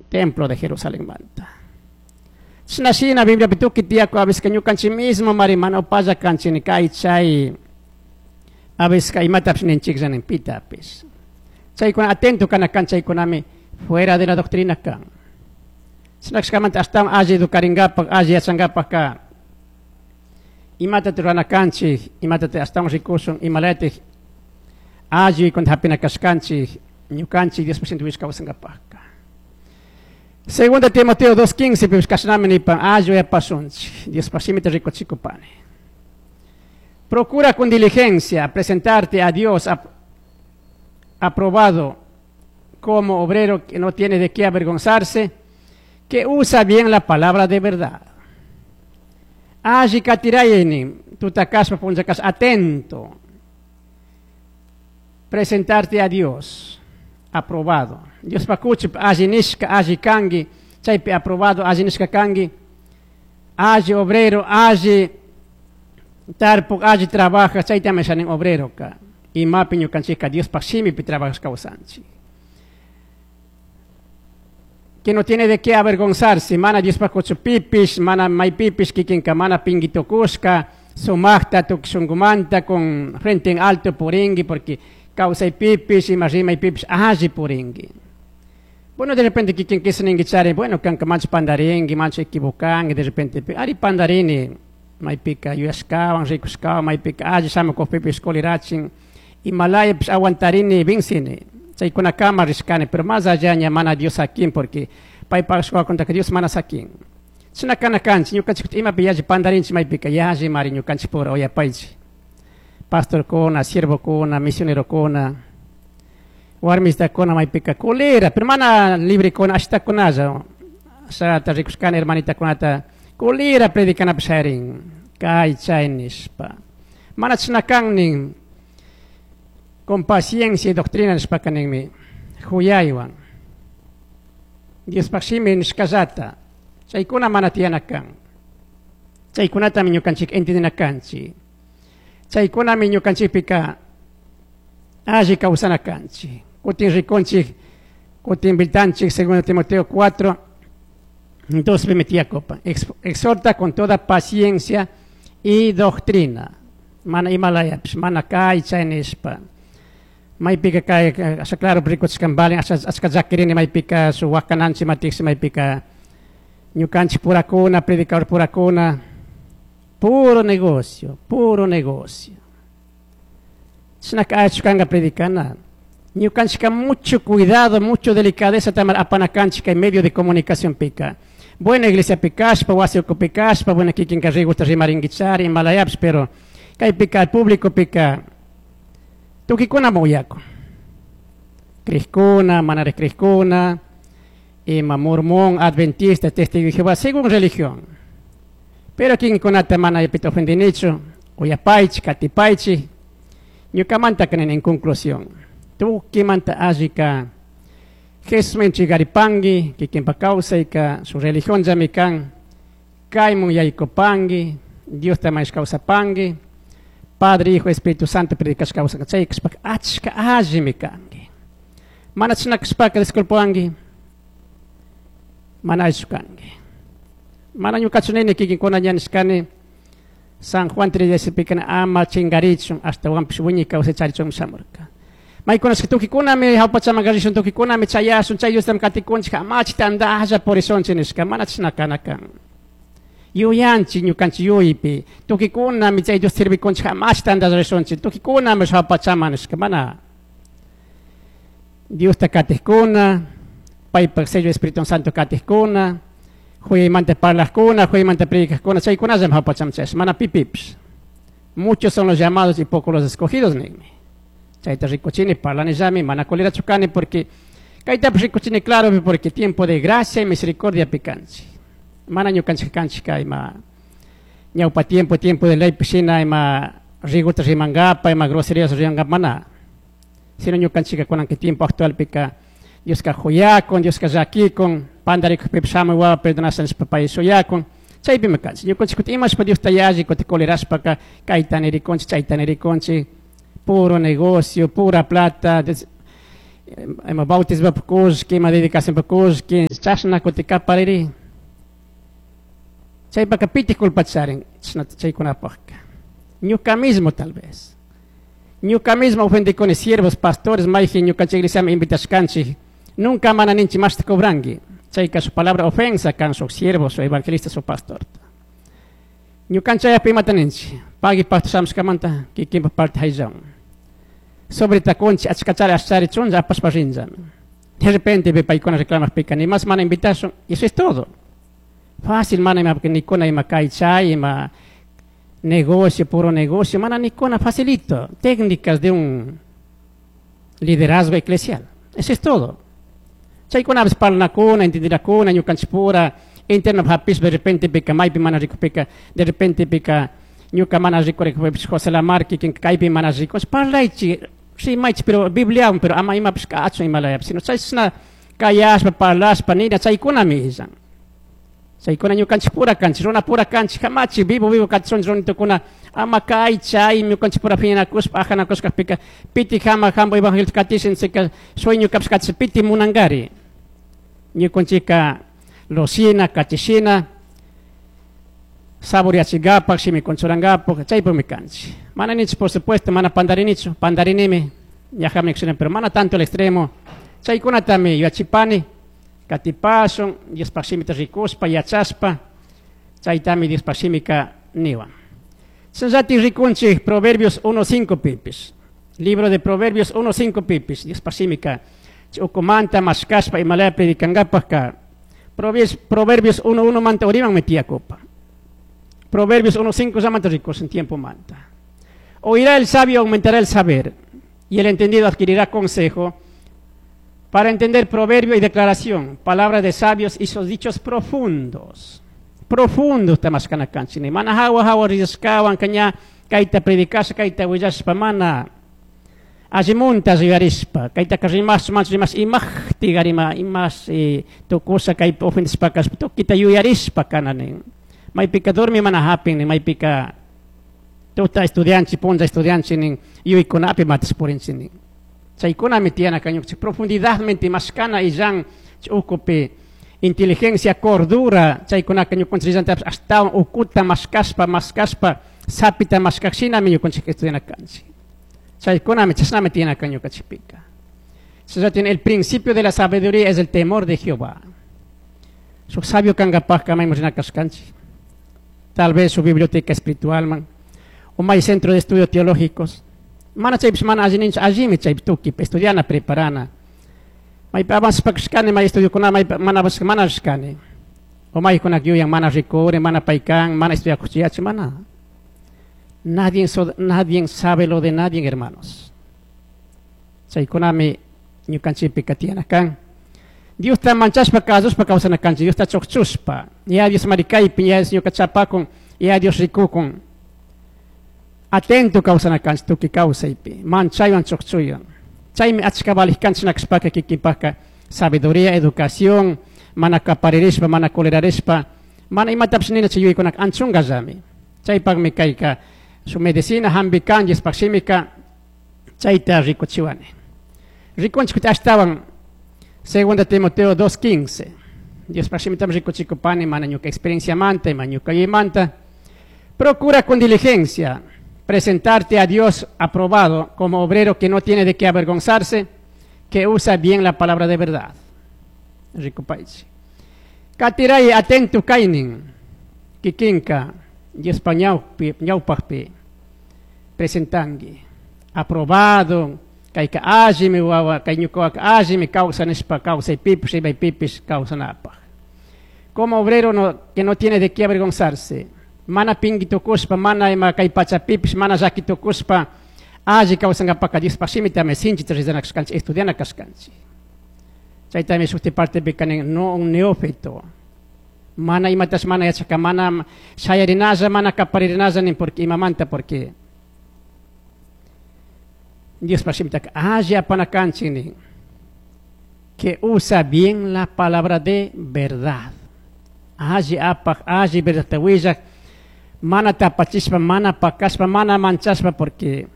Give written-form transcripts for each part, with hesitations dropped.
Templo de Jerusalenmanta. Chashna shina Bibliapi tukuy tiyakun, a veces ñukanchik mismo mari mana upalla kanchik, kay chay, a veces imatapish ninchiklla nin pitapish. Chaykuna atento kana kan, chaykunami fuera de la doctrina kan. Chashna kashkamanta ashtawan alli educaringapak, alli yachankapakka imata rurana kanchik, imata ashtawan rikushun, imalayatik alli hapina kashkanchik ñukanchik Dios presidente kawsankapakka. Segunda Timoteo 2.15 pish kashnami nipan alli uyapashunchik, Dios shimita rikuchikupani. Procura con diligencia presentarte a Dios aprobado como obrero que no tiene de qué avergonzarse, que usa bien la palabra de verdad. Alli katirayni, tuta kashpa punlla kashpa, atento. Presentarte a Dios aprobado. Dios pakuchi alli nishka, alli kangi, chaypi aprobado, alli nishka kangi, alli obrero, alli tarpuk, alli trabaja, chaytami shanin obrero ka. Imapi ñukanchikka Diospaj shimipi trabajas kawsanchik. Que no tiene de qué avergonzarse, mana Diospaj pipish, mana maypipish kikinka mana pinkitukushka, sumajta tukuy shunkumanta con frente en alto puringi, porque kawsaypipish, ima rimaypipish alli puringi. Bueno, de repente kikin ningi chari, bueno, kanka mancha pandaringi, mancha equivocangi, de repente, ari pandarini, maypika yuyashkawan, rikushkawan, maypika alli shamukukpipish kolirachin, imalayapish aguantarini, vincini. Chaykunakama rishkani, pero más allá ña mana Dios sakin, porque paypaj que Dios mana sakin. Chashna kana kanchik, ñukanchik imapi yalli pandarinchik maypika yalli mari ñukanchik pura uyapaychik. Pastorkuna, siervokuna, misionerokuna, warmistakuna maypika colera, pero mana librekuna ashtakunalla. Ashata rikushkani hermanitakunata colera predicanapi shayarin, kay chay nishpa. Mana chashna kan nin, con paciencia y doctrina nishpaka ninmi, huyaywan. Diospaj shimi nishkallata, chaykuna mana tiyana kan. Chaykunatami ñukanchik entendina kanchik. Chaykunami ñukanchikpika alli kawsana kanchik. Kutin rikunchik, kutin viltanchik, segundo Timoteo 4, 2 tiyakun. Exhorta con toda paciencia y doctrina. Mana imalayapish, mana kay chay nishpa. Maypika kay, asha claro rikuchishkan balin, asha achka llakirini maypika su wakananchik matiksi maypika ñukanchik purakuna, predicador purakuna, puro negocio, puro negocio. Chashnaka allichu kanka predicana. Ñukanchika mucho cuidado, mucho delicadeza tamar apanakanchik kay medio de comunicación pika. Buena iglesia pikashpa, wasi ukhupi kashpa, buena kikinka rigusta rimarinkichari, imalayapish, pero kaypika al público pika tukuykunami uyakun. Crijkuna, manari crijkuna, ima mormón, adventista, testigo de Jehová, según religión. Pero kikinkunata mana pita ofendinichu, uyapaychik, katipaychik, ñukamanta kanini en conclusión. Tukuymanta allika Jesusman entregaripanki, kikinpa kawsayka, su religión llami kan, kaymun yaykupanki, Diosta mañashpa kawsapanki, Padre, Hijo, Espíritu Santo predicashpa kawsanka, chay kashpaka achka allimi kanki. Mana chashna kashpaka disculpawanki, mana allichu kanki. Mana ñukachu nini kikinkuna ña nishkani, San Juan 3:16 ama chingarichun, ashtawanpish wiñay kawsay charichunmi shamurka. Maykunashka tukuykunami ñawpachaman rishun, tukuykunami chayashun, chay Diostami katikunchik, amachi tandalla purishunchik nishka, mana chashna kana kan. Yuyanchik ñukanchik yuyaypi, tukuykunami chay Dios sirvikunchik, amachi tandalla rishunchik, tukuykunami ñawpachaman nishka, mana. Diosta katikkuna, paypak sello Espíritu Santo katikkuna, huyaymanta parlajkuna, huyaymanta predicajkuna, chaykunallami ñawpachaman chayash, mana pipipish. Muchos son los llamados y pocos los escogidos, ninmi. Chayta rikuchini parlanillami, mana colerachu kani, porque kaytapish rikuchini claro, porque tiempo de gracia y misericordia pikanchik. Mana ñukanchik kanchik ima ñawpa tiempo, tiempo de ley pishina, ima riguta rimankapa, ima groserías rimankapa, mana. Sino ñukanchika kunan que tiempo actual pika Dioska huyakun, Dioska llakikun, pandarikukpipish shamuy wawa perdonasha nishpa pay shuyakun. Chaypimi kanchik. Ñukanchik kutin imashpa Diosta yalli, kutin colerashpaka kayta nirikunchik, chayta nirikunchik, puro negocio, pura plata. Ima bautismo kullki, ima dedicación kullki, chashna kutin kapariri. Chaypaka pitik culpa charin, chaykunapajka. Ñuka mismo tal vez. Ñuka mismo ofendikuni siervos, pastores, mayjin ñukanchik iglesiaman invitashkanchik. Nunca mana ninchik mashta cobranki. Chayka su palabra ofensa kan shuk siervos, su evangelistas, su pastor. Ñukanchaypi imata ninchik. Pagui pastor shamushkamanta kikinpa parte hayllawan. Sobre takunchik achkachari ashchari chunlla apashpa rinllami. De repente ve paykuna reclamajpika ni más mana invitashun, y eso es todo. Fácil mana ima nikuna ima kay chay, ima negocio, puro negocio, mana nikuna facilito. Técnicas de un liderazgo eclesial. Eso es todo. Chaykunapish parlanakuna, entendirakuna, ñukanchikpura, interno hapish de repente pika maypi mana rikupika, de repente pika ñuka mana rikurikpipish José Lamar kikin kaypi mana rikush, parlaychik, rimaychik, pero Bibliawan, pero ama imapish kachun imalayapish, sino chayshna kayashpa, parlashpa, nina, chaykunami illan. Chaykuna ñukanchikpura kanchik, runapura kanchik, kamachi, vivo, vivo kachun runitukuna, ama kay, chay, ñukanchikpura phiñanakushpa, ajanakushkapika, piti jama, jambo evangelio katishin, chayka sueño kapish katishin, piti munankari. Ñukanchika losina, kachishina, saboreachigapak, shimikunchurangapak, chaypimi kanchik. Mana nichu, por supuesto, mana pandarinichu, pandarinimi, ñajami kushina, pero mana tanto el extremo. Chaykunatami yachipani, katipashun, Diospaj shimita rikushpa, yachashpa, chaytami Diospaj shimika niwan. Chayllati rikunchik Proverbios 1.5 pipis. Libro de Proverbios 1.5 pipis. Diospaj shimika ukumanta mashkashpa imalaya predicankapajka. Proverbios 1.1 manta uriman metiakopa. Proverbios 1.5 ya manta ricos en tiempo manta. Oirá el sabio, aumentará el saber, y el entendido adquirirá consejo para entender proverbio y declaración, palabras de sabios y sus dichos profundos. Profundos tamashkana kanchik. Mana hawa hawa rishkawan kaña kayta predicasha kayta willashpa mana allimunta yuyarishpa kayta rimash manch rimash imajti garima imas tukusha kay ofendishpa kashpa tukita yuyarishpa kana nin. Maypika dormi mana hapin nin, maypika tuta estudianchi punlla estudianchi nin yuykunapi matas purinchi nin. Chaykunami tiyana kañuqchik profundidadmente mashkana illan ukupi inteligencia, cordura, chaykunaka ñukanchik illantapish ashtawan ukuta mashkashpa, mashkashpa, sapita mashkaqshinami ñukanchik estudiana kanchik. Chaykunami chashnami tiyana kan ñukanchikpika. Chaylla el principio de la sabiduría es el temor de Jehová. Shuk sabio kankapajka mayman rina kashkanchik. Tal vez su biblioteca espiritual man, o may centro de estudios teológicos. Mana chaypish mana alli ninchu, allimi chaypi tukipi, estudiana, preparana. Maypi avanzashpa may estudiokuna, maypi mana avanzashpa, mana rishkani. O maykunak yuyan, mana rikuri, mana paykan, mana estudiakuchiyachi, mana. Nadie, nadie sabe lo de nadie, hermanos. Chaykunami ñukanchikpika tiyana kan. Diosta manchashpa kasushpa kawsana kanchik, Diosta chukchushpa. Ya Dios marikaypi, ya Dios ñuka chapakun, ya Dios rikukun. Atento kawsana kanchik tukuy kawsaypi, manchaywan chukchuywan. Chaymi achka valij kanchik nakashpaka kikinpajka sabiduría, educación, mana kaparirishpa, mana colerarishpa, mana imatapish nina chay yuyaykunaka anchunkallami. Chaypakmi kayka su medicina hampi kan, Diospaj shimika chayta rikuchiwani. Rikunchik ashtawan 2 Timoteo 2.15. Diospaj shimitami rikuchikupani, mana ñuka experiencia manta, ima ñuka yuyaymanta. Procura con diligencia presentarte a Dios aprobado como obrero que no tiene de qué avergonzarse, que usa bien la palabra de verdad. Rikupaichi. Katiray atento kaynin, kikinka, Diospa ñawpajpi presentangi. Aprobado, kayka allimi wawa, kay ñukawaka allimi kawsanishpa, kawsaypipish, rimaypipish kawsanapaj. Como obrero que no tiene de qué avergonzarse, mana pingui tukushpa, mana ima kay pachapipish, mana llaki tukushpa, alli kawsankapaka Diospaj shimitami sinchita rizana kashkanchik, estudiana kashkanchik. Chaytami shukti partepika nin, no un neófito. Mana imatash mana yachaka, mana shayarinalla, mana kaparirinalla nin, porque imamanta, porque Diospaj shimitaka alli apana kanchik nin, que usa bien la palabra de verdad. Alli apaj, alli verdadta willak, mana tapachishpa, mana pakashpa, mana manchashpa, porque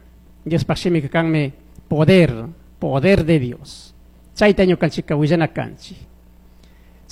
Diospaj shimika kanmi poder, poder de Dios. Chayta ñukanchika willana kanchik.